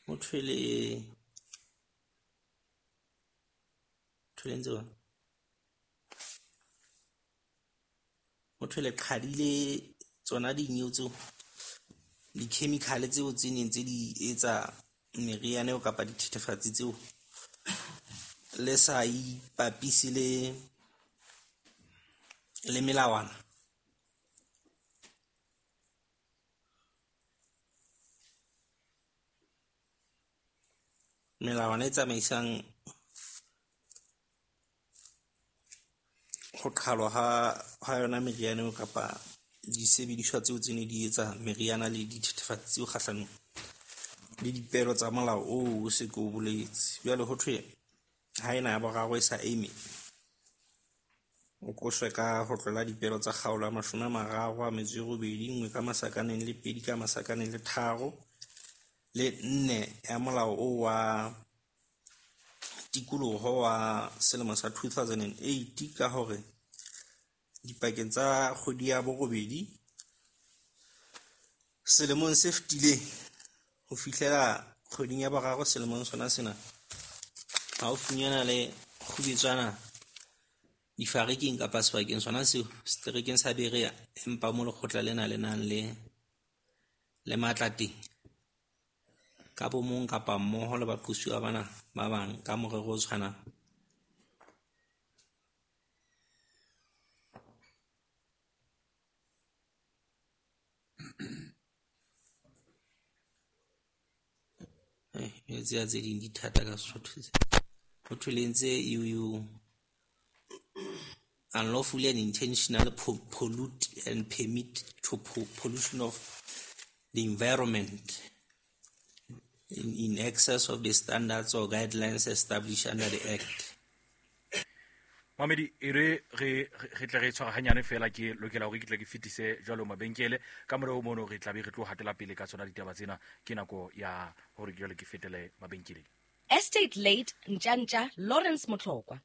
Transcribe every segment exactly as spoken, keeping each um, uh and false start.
Ho thwe le thwe le ntse jwang? Ho thwe le qhadile tsona dineo tseo, di-chemical tseo tse neng tse di etsa meriana eo kapa dithethefatsi tseo. Le sa ipapise le le melawana. Melawana e tsamaisang ho qhalwa ha ha yona meriana eo kapa disebediswa tseo tse ne di etsa meriana le dithethefatsi tseo kgahlanong le dipehelo tsa molao oo o se ke o boletse. Jwale ho thwe ha ena ya boraro e sa eme, o qoswe ka ho tlola dipehelo tsa kgaolo ya mashome a mararo a metso e robedi, nngwe ka masakaneng le pedi ka masakaneng le tharo le nne ya molao oo wa tikoloho wa selemo sa two thousand and eight ka hore dipakeng tsa kgwedi ya borobedi selemong se fetileng ho fihlela kgweding ya boraro selemong sona sena, ha o funyana le kgubetswana difariking kapa sebakeng sona seo seterekeng sa Berea, empa mo lekgotla lena le nang le le matla teng ka bo mong kapa mmoho le baqosuwa bana ba bang ka morero o tshwanang. Eh, tsena tse ding di thata ka Sesotho tse. Ho thwe le entse you you unlawfully and intentionally pollute and permit to pollution of the environment in, in excess of the standards or guidelines established under the Act. Mamedi, e re re re tle re tshwara hanyane fela ke lokela hore ke tle ke fetise jwalo mabenkele ka morao mono re tla be re tlo hatela pele ka tsona ditaba tsena ke nako ya hore ke jwale ke fetele mabenkeleng. Estate late Ntjantja Lawrence Motlokwa.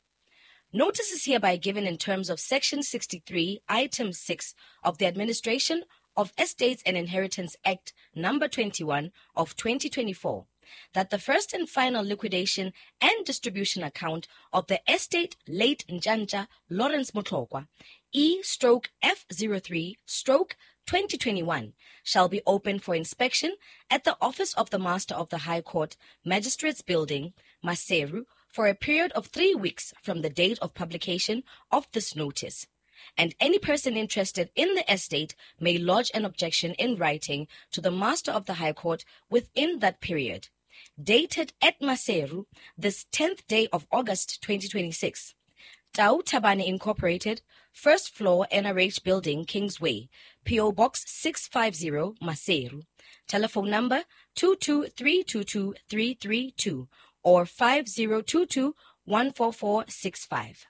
Notice is hereby given in terms of Section sixty-three, Item six of the Administration of Estates and Inheritance Act number twenty-one of twenty twenty-four, that the first and final liquidation and distribution account of the estate late Ntjantja Lawrence Motlokwa, E stroke F zero three stroke twenty twenty-one, shall be open for inspection at the office of the Master of the High Court, Magistrates Building, Maseru, for a period of three weeks from the date of publication of this notice. And any person interested in the estate may lodge an objection in writing to the Master of the High Court within that period. Dated at Maseru, this tenth day of August twenty twenty-six. Tau Tabane Incorporated, first floor N R H Building, Kingsway, P O Box six five zero, Maseru. Telephone number two two three two two three three two or five zero two two one four four six five.